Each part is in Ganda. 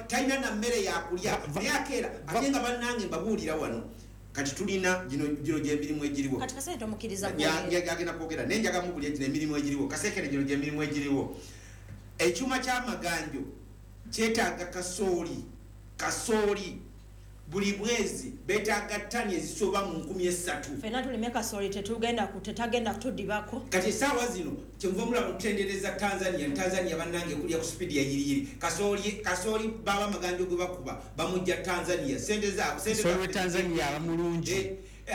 Talina na mmere yakulya, naye akeera ate nga bannange mbabuulira wano kati tulina gino gyemirimu egiriwo. Kati Kasekende tomukkiriza kwogera. Agenda kwogera naye njaga mubulya gino emirimu egiriwo. Kasekende, gino gyemirimu egiriwo. Ekyuma kyamaganjo kyetaaga kasooli buli mwezi, betaaga ttani ezisoba mu 3000. Fenna tulime kasooli, tetugenda tetagenda kutudibako. Kati esaawa zino kyenva mulaba kutendereza Tanzania. Tanzania bannange kulya ku speed ya yiriyiri. Kasooli baba amaganjo gwe bakuba bamujja Tanzania, sente zaabwe sente Kasooli we zaffe Tanzania aba mulungi.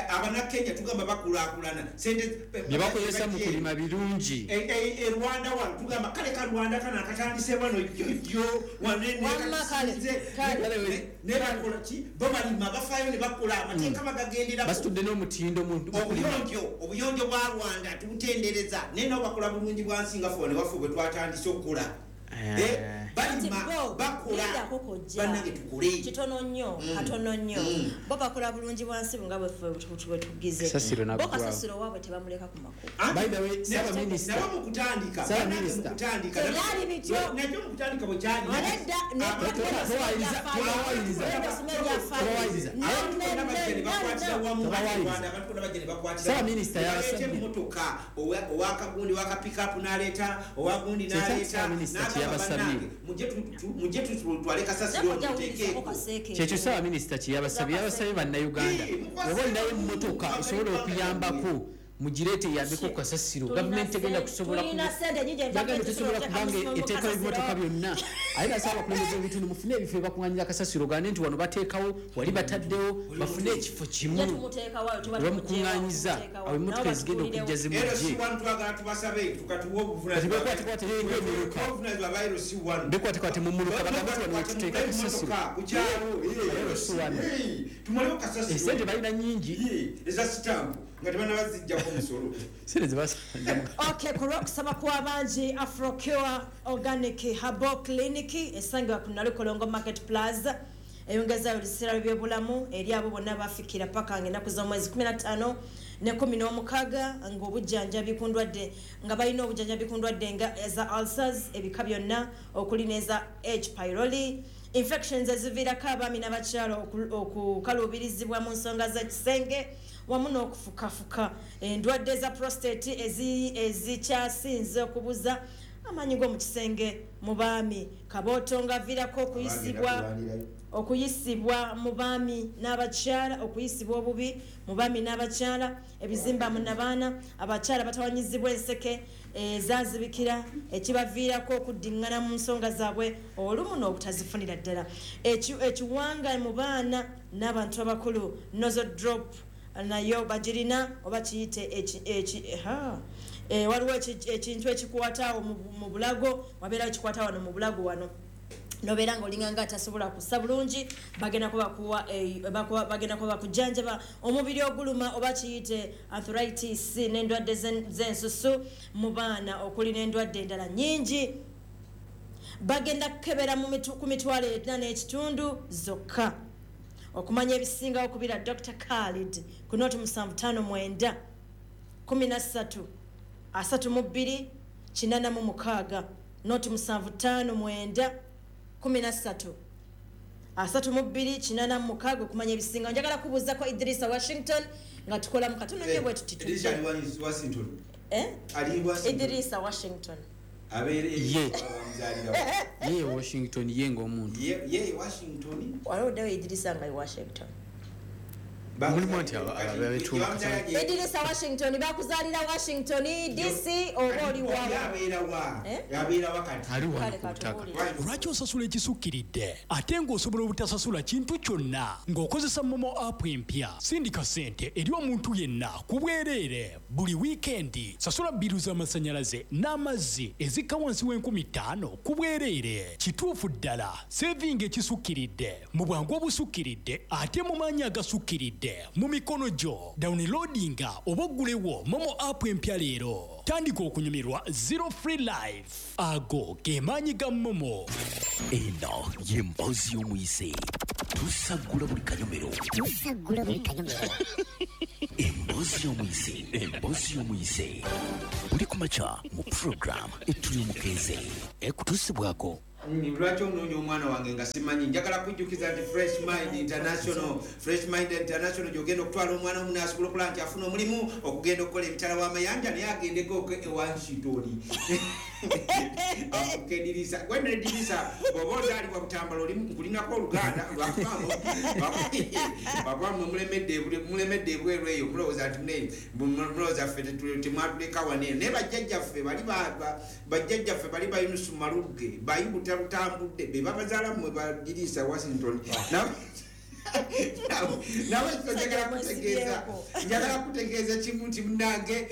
Abanakenya tugamba bakulaakulana, sente bye bakozesa mu kulima birungi. E Rwanda wano tugamba kale ka Rwanda kano akatandise wano jjojjo. Wamma kale, kale. Nebakola ki? Bo balima, bafaayo ne bakola amateeka bagagenderako. Basitudde n'omutindo mu kulima. Obuyonjo bwa Rwanda tubutendereza, naye nabo bakola bulungi bwansi nga ffe waffe bwe twatandise okukola. Balima, Kati bo, bakola. lindako kojja. Bannange tukole. Kitono nnyo, katono nnyo. Bo bakola bulungi bwansi nga bweffe bwe tugize. Kasasiro Bo naggwawo. kasasiro waabwe tebamuleka ku makubo. By the way, Ssaabaminisita- Nabo mu kutandika, Ssaabaminisita- bannange mu kutandika, Tebyali bityo. nakyo mu kutandika bwe kyali. Nedda, nedda, Towayiriza, towayiriza. Towayiriza. Abantu bonna bajja ne bakwatira wamu. Tobawayiriza. Rwanda, abantu bonna bajja ne bakwatira Ssaabaminisita wamu. yabasabye. Baleeta emmotoka, owakagundi owakapikapu n'aleeta, owagundi Kyekya n'aleeta, Ssaabaminisita n'agamba kye yabasabye. bannange, mujje tutwale kasasiro Kojja muteekeeko. wuliriza Kaseeke. Kyekyo ssaabaminisita kye yabasabye. Yabasabye bannayuganda, oba olinayo emmotoka esobola okuyambako, mugireete eyambeko ku kasasiro. Gavumenti tegenda kusobola Tulina sente nyingi. Yagambye tesobola kubanga eteekawo ebimotoka byonna. Ate nasaba abakulembeze b'ebitundu mufune ebifo ebakuŋŋaanyiza kasasiro, gande nti wano bateekawo, wali bataddewo, bafune ekifo kimu Ye tumuteekawo, tuba webamukuŋŋaanyiza, tumuggyeewo, awo emmotoka nabo ezigenda okujja batubuulirewo. zimugye. LC1 twagala tubasabe tukatuwe Kati bekwate emiruka. obuvunanyizibwa ba LC1. Bekwate mu muluka, bagambe nti wano wetuteeka kasasiro. Ku kyalo. LC1. Tumalewo kasasiro. Esente balina nyingi. Eza sitampu nga tebanabazijjako musolo. Sente zebasanja. Okay, ku lwokusaba kw'abangi, Afrocure Organic Herbal Clinic esangibwa ku Nalukolongo Market Plaza eyongezayo olusiisira lw'ebyobulamu eri abo bonna bafikira paka nga ennaku z'omwezi 15 ne 16, ng'obujjanjabi ku ndwadde, nga balina obujjanjabi ku ndwadde nga eza ulcers ebika byonna, okuli n'eza H pylori infections eziviirako abaami n'abakyala okukaluubirizibwa mu nsonga z'ekisenge wamu n'okufukafuka, endwadde za prostate ezikyasinze okubuza amaanyi g'omu kisenge mu baami, kabooto ng'aviirako okuyisibwa mu baami n'abakyala, okuyisibwa obubi mu baami n'abakyala, ebizimba mu nabaana, abakyala batawanyizibwa enseke ezazibikira ekibaviirako okuddiŋŋana mu nsonga zaabwe olumu n'obutazifunira ddala, ekiwanga mu baana n'abantu abakulu, nozo drop nayo bagirina, oba kiyite ha. Waliwo ekintu ekikwata awo mu bulago, wabeerawo ekikwata wano mu bulago wano, nobeera nga olinga nga atasobola kussa bulungi, bagenda kuba bakuwa, bagenda kuba bakujanjaba omubiri oguluma, oba kiyite arthritis, n'endwadde z'ensusu mu baana, okuli n'endwadde endala nnyingi. Bagenda kukebera ku 45,000 zokka. Okumanya ebisingawo, kubira Dr Khalid ku 0759 13 32 86, 0759 13 32 86, okumanya ebisingawo. Njagala kubuuzako Idrisa Washington nga tukolamu katono nnyo bwe tuti. Idrisa ali Washington. Eh? Ali Washington. Idrisa Washington. Abeere Ye. bamuzaalirawo. Ye Washington, ye ng'omuntu. Ye Washington. Waliwo ddewo Idrisa nga e Washington. Mulimu nti abetuuka. Bamuzaala gye- Idrisa Washington bakuzaalira Washington DC oba oli Oli wa abeera wa? Eh? Abeera wa kati? Ali wano Kale ku butaka. katubuulire. Lwaki osasula ekisukkiridde ate ng'osobola obutasasula kintu kyonna ng'okozesa MoMo app empya? Sindika ssente eri omuntu yenna ku bwereere buli wiikendi. Sasula bill z'amasannyalaze n'amazzi ezikka wansi w'5,000 ku bwereere. Kituufu ddala, saving ekisukkiridde mu bwangu obusukkiridde ate mu maanyi agasukkiridde mu mikono gyo. Downloadinga oba oggulewo MoMo app empya leero. Tandika okunyumirwa zero free life. Ago ge maanyi ga MoMo. Eno ye mboozi y'omuyise. Tusaggula buli kanyomero. Tusaggula buli kanyomero. Emboozi y'omuyise, emboozi y'omuyise, buli ku makya mu program Etuli Omukeeze, ekutuusibwako Lwaki onoonya omwana wange nga simanyi? Njagala kujjukiza nti Fresh Mind International, Fresh Mind International gyogenda okutwala omwana omu n'asobola okulaba nti afuna omulimu okugenda okukola emitala w'amayanja, naye agendeko ewa Nshitoli afuka edirisa gwena edirisa. Bw'oba ozaalibwa Butambala, oli nkulinako oluganda, lwakuba mwe mulemedde ebweru eyo, mulowooza nti mulowooza ffe temwatuleka wano eno, naye bajjajjaffe bali bajjajjaffe bali ba Yunusu Malugge bayibuta lutambudde be babazaala mmwe badirisa Washington. Nawe njagala kutegeeza kimu nti munange,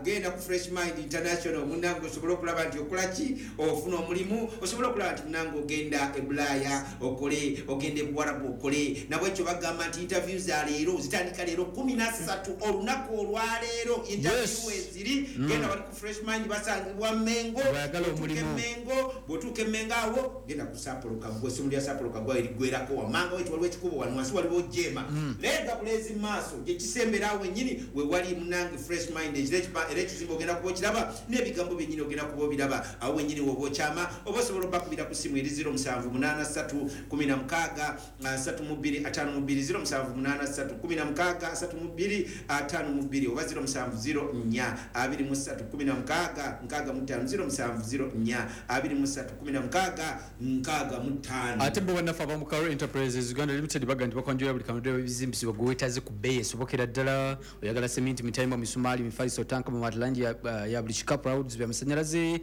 genda ku Fresh Mind International, munange, osobole okulaba nti okola ki, ofuna omulimu, osobole okulaba nti munange ogenda e Bulaaya okole, ogenda e Buwarabu okole. Nabwekyo bagamba nti interview za leero zitandika leero 13, olunaku olwaleero interview eziri. Genda wali ku Fresh Mind, basangibwa Mengo. Bw'ayagala omulimu. Mengo, bw'otuuka Emengo awo genda ku Sapolo Kaggwa, essomero lya Sapolo Kaggwa eriggwerako wammanga wetu waliwo ekikubo, wano wansi waliwo jema leega bulezi maaso gyekisembera awo wennyini we wali munange Fresh Mind. Era ekizimbe ogenda kuba okiraba n'ebigambo byennyini ogenda kuba obiraba awo wennyini woba okyama, oba osobola obakubira ku simu eri 0783 16 32 52, 0783 16 32 52, oba 0704 23 16 65, 0704 23 16 65. Ate bo bannaffe aba Mukaro Enterprises Uganda Limited baga nti bakwanjulira buli kamudde ebizimbisibwa gwe weetaaze ku bbeeyi esobokera ddala. Oyagala seminti, mitayimbwa, misumaali, mifaliso, tanka, mamaati, langi ya buli kika, plywood, byamasanyalaze,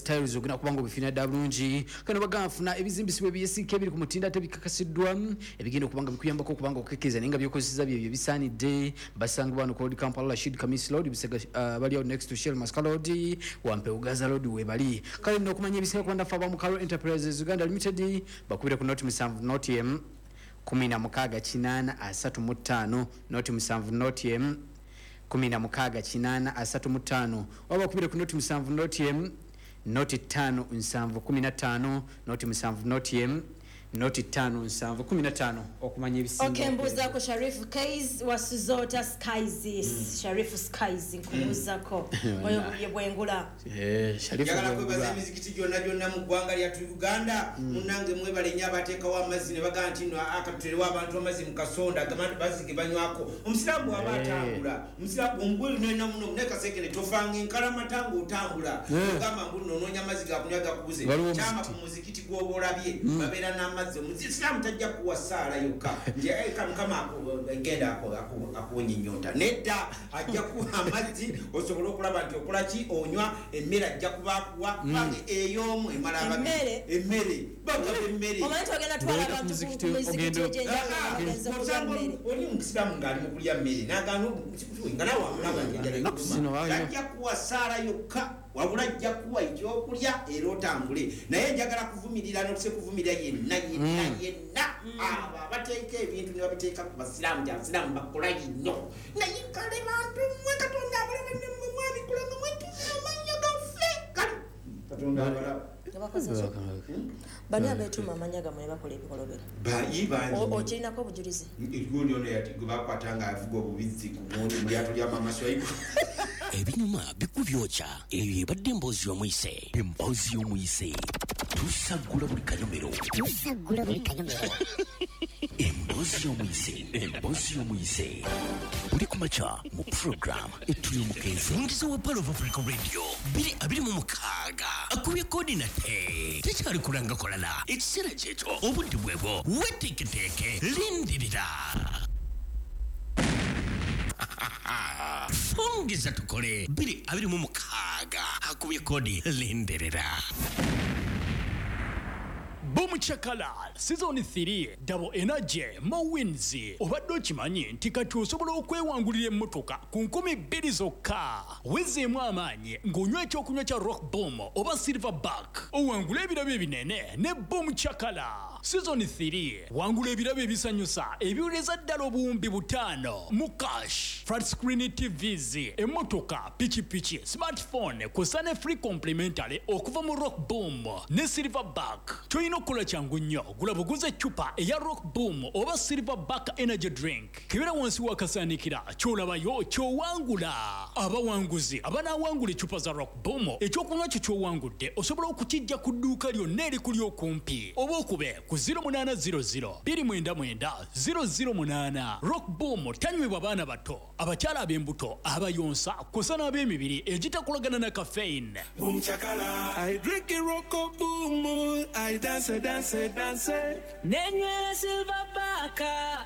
tiles, ogenda kuba nga obifina ddala bulungi. Kano bagamba funa ebizimbisibwa ebyesiika ebiri ku mutindo ate bikakasiddwa, ebigenda okuba nga bikuyambako okuba nga okukekkereza naye nga byokozesa byebyo bisaanidde. Basangibwa wano ku Old Kampala, Rashid Kamis Road, Busega, bali awo next to Shell Masaka Road, Wampewo Gaza Road webali. Kale nno okumanya ebisinga ku bannaffe aba Mukaro Enterprises Uganda Limited, bakubire ku 07 0 16 8 35, 07 0 16 8 35, oba bakubire ku 07 0 05 7 15, 07 0 05 7 15 okumanya ebisinga. Okay, mbuuzaako Sharifu Kais wasuzota Skies. Sharifu Skies, nkubuuzako oyo ye Bwengula. Sharifu Njagala kwebaza Bwengula. emizikiti gyonna gyonna mu ggwanga lyattu Uganda. Munnange, mwebale nnyo abateekawo amazzi ne bagamba nti no akatuterewo abantu amazzi mu kasonda amazzi ge banywako. Omusiraamu bw'aba atambula, omusiraamu omugwelunena muno naye kasekene tofanga enkalamata ng'otambula, ogamba mbu nno onoonya amazzi gakunywa gakubuze. Waliwo Kyama omuzikiti. ku muzikiti gw'oba olabye babeera n'amazzi. Omusiraamu tajja kuwa ssaala yokka nti "Eh, Mukama genda akuwonya ennyonta." Nedda, ajja kuwa amazzi osobole okulaba nti okola ki, onywa. Emmere ajja kuba akuwa, kubanga ey'omu emala ababiri. Emmere? Emmere, bagaba emmere. Omanyi togenda twala Ng'oyita ku abantu ku muzikiti, mizikiti egyenjawulo bagenze kulya Osanga mmere. Oli omusiraamu ng'ali mu kulya mmere n'agaana nga nawe amulaba nti enjala Ennaku ekuluma. zino balina- Tajja kuwa ssaala yokka, wabula ajja kuwa ekyokulya era otambule. Naye njagala kuvumirira n'okuse kuvumirira yenna yenna yenna abo abateeka ebintu ne babiteeka ku basiraamu nti abasiraamu bakola nnyo, naye kale bantu mmwe Katonda abalaba, nemmwe mwabikola nga mwetumira amannya gaffe. Kale Katonda abalaba. Tebakoze ki? Bani abeetuuma amannya gammwe ne bakola ebikolobero? Bayi bangi. Okirinako obujulizi? Gundi ono yati gwe bakwata nga avuga obubizzi ku gundi mu lyato lya Mama Swaibu. Ebinyuma bikubyokya, eyo ebadde emboozi y'omuyise. Emboozi y'omuyise, tusaggula buli kanyomero. Tusaggula buli kanyomero. Emboozi y'omuyise, emboozi y'omuyise buli ku makya mu program Etuli Omukenzi. Omukizo wa Pearl of Africa Radio 2026 akubye kodi nate tekyali kulanga kolala. Ekiseera kyekyo, obudde bwebwo, weteeketeeke, lindirira, fungiza tukole. 2026 akubye kodi, lindirira. Boom Chakala Season 3, Double Energy Mo Wins. Obadde okimanyi nti kati osobola okwewangulira emmotoka ku 2000 zokka? Wezeemu amaanyi ng'onywa ekyokunywa kya Rock Boom oba Silver Back, owangule ebirabo ebinene ne Boom Chakala. Season 3. Wangula ebirabo ebisanyusa ebiwereza ddala obuwumbi 5 mu cash, flat screen TVs, emmotoka, pikipiki, smartphone kw'ossa ne free complimentary okuva mu Rock Boom ne Silverback. Ky'olina okukola kyangu nnyo, gula buguze eccupa eya Rock Boom oba Silverback energy drink, kebera wansi w'akasaanikira, ky'olabayo ky'owangula. Abawanguzi abanaawangula eccupa za Rock Boom, ekyokunywa kyo ky'owangudde osobola okukijja ku dduuka lyonna erikuli okumpi oba okube ku 0800 299 008. Rock Boom tanywebwa baana bato, abakyala ab'embuto, abayonsa kw'ossa n'ab'emibiri egitakolagana na caffeine. Boom chakala. I drink a Rocco boom. I dance, dance, dance. Nenywera Silverback,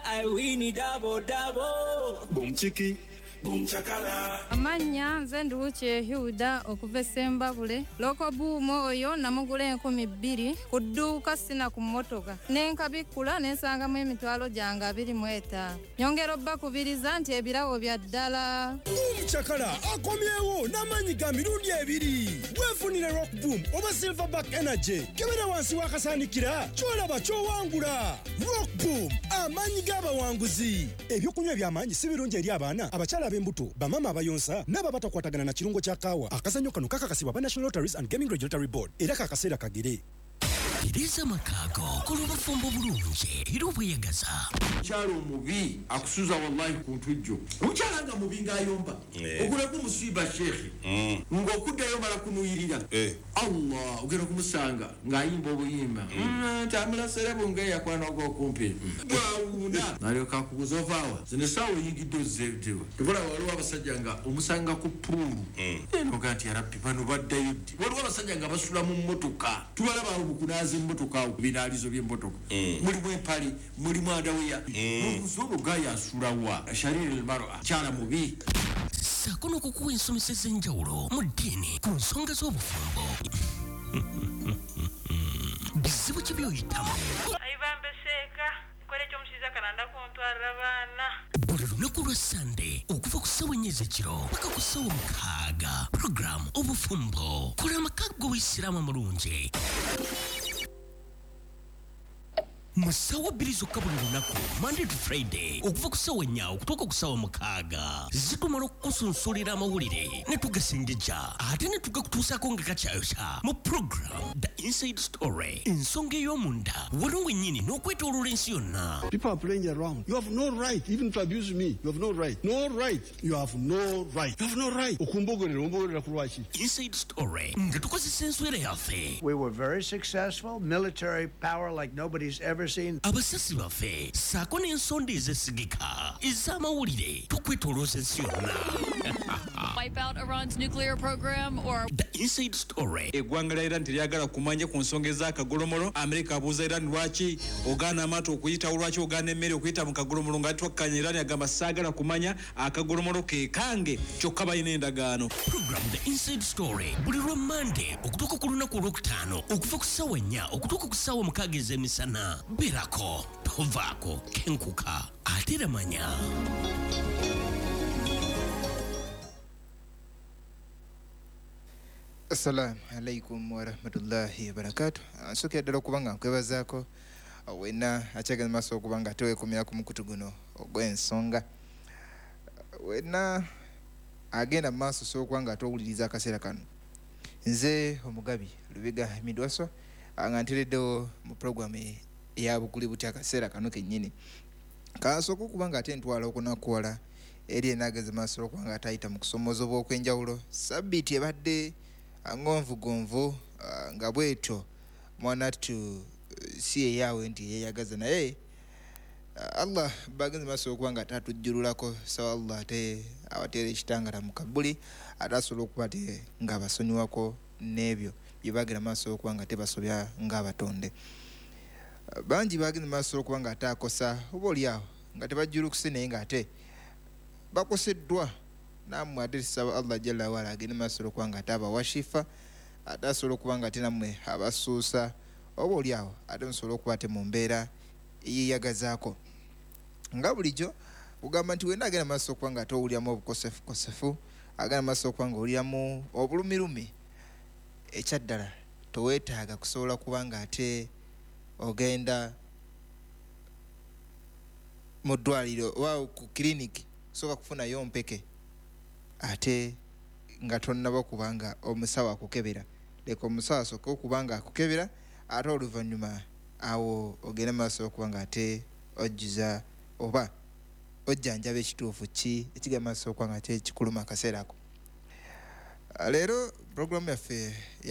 I win double double. Boom chiki. Boom chakala. Amannya nze Nduwukye Hilda okuva e Ssembabule. Rock Boom oyo namugula 2000 ku dduuka sina ku mmotoka. Ne nkabikkula ne nsangamu emitwalo gyange 25. Nyongera obbakubiriza nti ebirabo bya ddala. Boom Chakala akomyewo n'amaanyi ga mirundi ebiri. Weefunire Rock Boom oba Silverback Energy. Kebera wansi w'akasaanikira ky'olaba ky'owangula. Rock Boom, amaanyi g'abawanguzi. Ebyokunywa eby'amaanyi si birungi eri abaana, abakyala ab'embuto, bamaama abayonsa n'abo abatakwatagana na kirungo kya kaawa. Akazannyo kano kakakasibwa aba National Lotteries and Gaming Regulatory Board era kakaseera kagere. Tereza amakaago, kola obufumbo bulungi era obweyagaza. Omukyala omubi akusuza wallahi ku ntujjo. Omukyala nga mubi ng'ayomba, ogulako omusiiba sheekhe ng'okuddayo mala kunuyirira. Allah, ogenda kumusanga ng'ayimba obuyimba ntamulasere bunge yakwana ogw'okumpi bwawuuna nalyoka akubuza ovaawa zino essaawa oyingidde ozzeetewa. Tebula waliwo abasajja nga omusanga ku puulu enoga nti yarabbi bano baddayo ddi. Waliwo abasajja nga basula mu mmotoka, tubalaba awo mukunaaza emmotoka awo ku binaalizo by'emmotoka, mulimu empale, mulimu andaweya. N'obuuza olwo gaaya asulawa shariri almar'a, kyala mubi. Ssaako n'okukuwa ensomesa ez'enjawulo mu ddiini ku nsonga z'obufumbo. Bizibu ki by'oyitamu? Ayibambe seeka, nkola ekyomushiiza kalanda kuntwalira abaana. Buli lunaku lwa Sande okuva ku ssaawa 4 ez'ekiro paka ku ssaawa 6, puroguramu Obufumbo, kola amaka g'Obuyisiraamu amalungi. Mu ssaawa 2 zokka buli lunaku, Monday to Friday, okuva ku ssaawa 4 okutuuka ku ssaawa 6, zitumala okukusunsulira amawulire ne tugasengejja ate ne tugakutuusaako nga kakyayokya mu program The Inside Story, ensonga ey'omunda wano wennyini n'okwetooloola ensi yonna. People are playing around. You have no right even to abuse me. You have no right. No right. You have no right. You have no right. Okumbogerera, ombogerera ku lwaki? Inside Story nga tukozesa enswera yaffe. We were very successful, military power like nobody's ever seen. Abasasi baffe ssaako n'ensonda ezesigika ez'amawulire tukwetoolooza ensi yonna. Wipe out Iran's nuclear program or The Inside Story. Eggwanga lya Iran teryagala kumanya ku nsonga ez'akagolomolo. Amerika abuuza Iran lwaki ogaana amaato okuyitawo, lwaki ogaana emmere okuyita mu kagolomolo, nga twakkanya. Iran agamba saagala kumanya, akagolomolo ke kange, kyokka balina endagaano. Program The Inside Story buli lwa Monday okutuuka ku lunaku olwokutaano okuva ku ssaawa 4 okutuuka ku ssaawa 6 ez'emisana. Beerako, tovaako, kenkuka ate era manya. Assalamu alaikum warahmatullahi wabarakatuh. Nsooka ddala okuba nga nkwebazaako wenna akyagenda maaso okuba nga teweekumira ku mukutu guno ogw'ensonga. Wenna agenda mu maaso osobola okuba nga atowuliriza akaseera kano. Nze Omugabi Lubega Midwaso nga ntereddewo mu puroguramu eya Buguli Butya akaseera kano kennyini. Kansooka okuba nga ate ntwala okunakuwala eri enaageze maaso okuba nga atayita mu kusomoozebwa okw'enjawulo. Sabbiiti ebadde ngonvugonvu nga bwetyo mwanattu si eyaawe nti yeeyagaza, naye Allah bagenze maaso okuba nga tatujjululako. So Allah ate abateera ekitangala mu kabuli ate asobola okuba ate ng'abasonyiwako n'ebyo bye bagenda maaso okuba nga tebasobya ng'abatonde. Bangi bagenda maaso okuba nga ate akosa oba oli awo nga tebajjulukuse, naye ng'ate bakoseddwa. Nammwe ate tusaba Allah jalla waala agende maaso okuba nga ate abawashifa, ate asobola okuba nga ate nammwe abasuusa oba oli awo ate musobola okuba ate mu mbeera eyeyagazaako. Nga bulijjo kugamba nti wenna agenda maaso okuba nga ate owuliramu obukosefukosefu, agenda maaso okuba nga owuliramu obulumirumi, ekyaddala toweetaaga kusobola kuba nga ate Ogenda mu ddwaliro oba ku kiriniki, sooka kufunayo mpeke ate nga tonnaba kubanga omusawo akukebera. Leka omusawo asooke okuba nga akukebera, ate oluvannyuma awo ogenda maaso okuba nga ate ojjuza oba ojjanjaba ekituufu ki ekigenda maaso okuba nga ate kikuluma akaseera ako. Leero puroguramu yaffe ya